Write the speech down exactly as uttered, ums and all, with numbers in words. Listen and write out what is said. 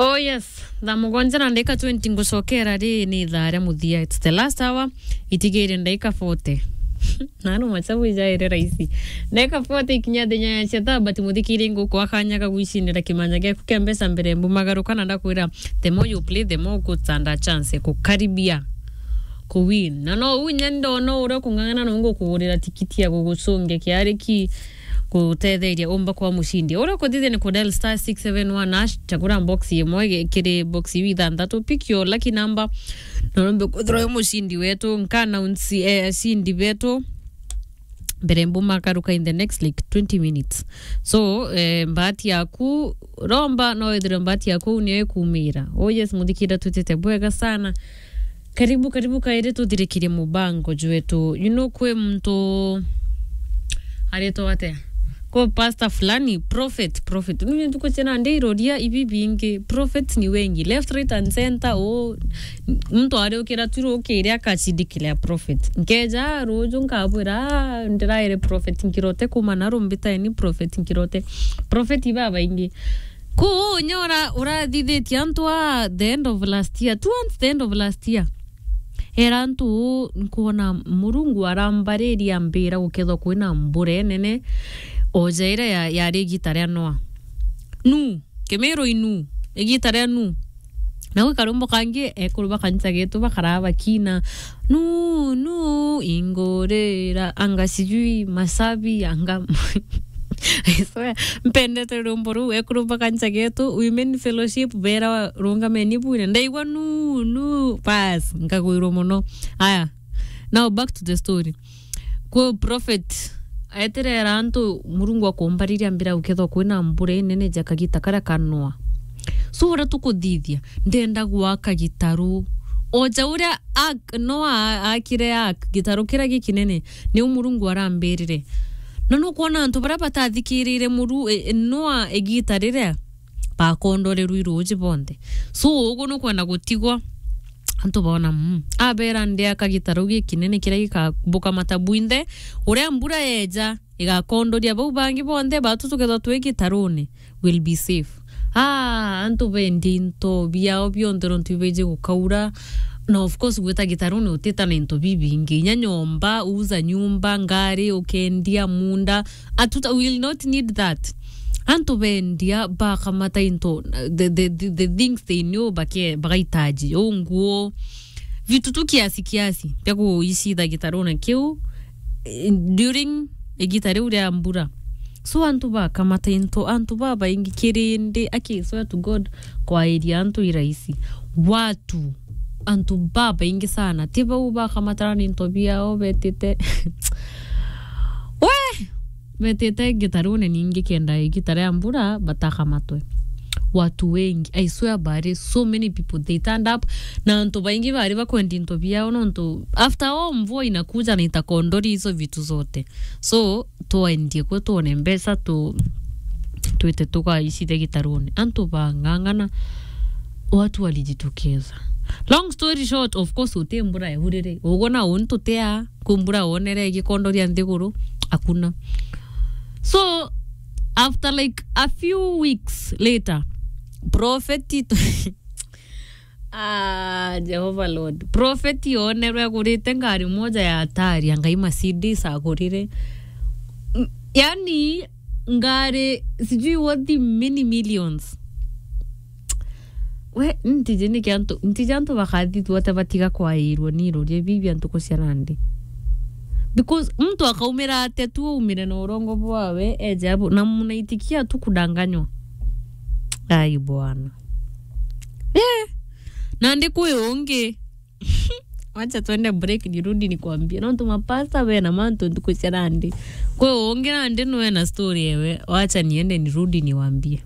Oh yes, thaa mugwanja na ndagika twenty ngucokera ri ni thaa ria muthia. It's the last hour. Itigire ndagika forty. Nanu machabu ijaire raisi. Ndagika forty ikinya thenya ya chetha, but muthikiri nguku akanya ga gwicindira kimanya giaku kia mbeca mbere mbumagaruka, na ndakwira, the more you play, the more good stand a chance ya kukaribia kuwin. Na no u inya ndona uria ukung'ang'ana no ngukugurira tikiti ya gugucungia kiari ki gutetheria umba kwa mucindi. Uria ukuthithia ni kudial star six seven one hash, chagura box imwe ge-, kiri box iu ithanthatu, pick your lucky number, na urombe kwithirwa wi mucindi wetu. Nka announce, eh, acindi betu mbere mbumakaruka in the next, like, twenty minutes. So, eh, mbahati yaku, romba no withirwe mbahati yaku niyo ikumira. Oh yes, muthikira twitite bwega sana. Karibu, karibu kairi tuthirikirie mubango jwetu. You know, kwi muntu aritwa atia? Kwi pastor fulani, prophet, prophet. Ni ntuku cia nandi iroria ibi bingi. Prophet ni wengi. Left, right and center, o muntu ariukira tu rukiri akacindikira prophet. Nkeja ruju nkabwira, "Ah, ndiraire prophet nkirote kuma na rumbitaeni prophet nkirote." Prophet ibabaingi. Kuu nyora urathithitie antu a the end of last year, towards the end of last year. Era antu uu nkwona Murungu arambariria mbira gukethwa kwina mbura inene, o ja iria ya-, yari igita ria Noa. Nu, Kimiru inu, igita ria Nu. Na gwi karumbo kangi, ekuru ba kanisa gitu bakaraa bakina, "Nu, nu, ingurira, anga sijui masabi, anga." I swear, mpendete rwimbo ruu, ekuru ba kanisa gitu, Women Fellowship, bera, "Rungameni bwine." Ndaigua, "Nu, nu," bas, nkagwirwa mono. Aya, now back to the story. Kwi prophet aeterera antu, Murungu akumbariria mbira gukethwa kwina mbura inene ja kagita karia ka Noa. So uria tukuthithia, ndenda gwaka gitaru. O ja uria ak-, Noa a-, akire ak-, gitaru kiria gikinene, niu Murungu arambirire. Na nukwona antu baria batathikirire Muru-, e, e, Noa igita riria, bakondorerwe iruji bonthe. So, ugu nukwenda gutigwa, antu bona, mm. Abera, "Ndiaka gitaru gikinene kiria gikabukamata bwinthe, uria mbura yeja, igakondoria bau bangi bonthe, batu tukethwa twi gitarune, will be safe." Ah, antu bendia into biao bionthe nontu ibeji gukaura. Na of course, gwita gitarune utita na into bibingi. Inya nyomba, uza nyumba, ngari, ukendia, munda, atuta, we will not need that. Antu bendia bakamata into the, the, the, the things they know bake-, bagaitaji, o nguo, vitu tu kiasi kiasi bia kuicitha gitarune kiu, eh, during igita riu ria mbura. So antu bakamata into, antu babaingi kirindi, aki swear to God, kwairia antu i rahisi. Watu, antu babaingi sana, ti bau bakamatana na into biao betite. We! Betite gitarune ningi kenda igita ria mbura batakamatwe. Watu wengi, I swear, bari so many people, they turned up, na antu baingi bari bakwendia into biao, nontu after all mvua inakuja na itakondori hizo vitu zote. So, twendie kwe twone mbeca tu-, twite tugaicithe gitarune. Antu bang'ang'ana, watu walijitokeza. Long story short, of course, uti mbura yaurire. Ugo na untu tia, ku mbura wonere igikondoria nthiguru, akuna. So, after, like, a few weeks later, prophet Ah, Jehovah Lord. Prophet onerwe agurite ngari moja ya hatari, anga i Mercedes agurire. M-, yani, ngari sijui worth many millions. We, ntiji niki antu, ntiji antu bakathithua ate batiga kwairwa ni iroria bibi antu kucia nandi. Because mtu akaumira ate tu aumire na urongo bwawe, eje abu, na munaitikia tu kudanganywa. Ai, bwana. Eh, nandi kwi ungi. Wacha twende break, nirudi nikwambie. Nontu mapasta bena mantu ntuku cia nandi. Kwi ungi nandi nwe na story ewe. Wacha niende nirudi niwambie.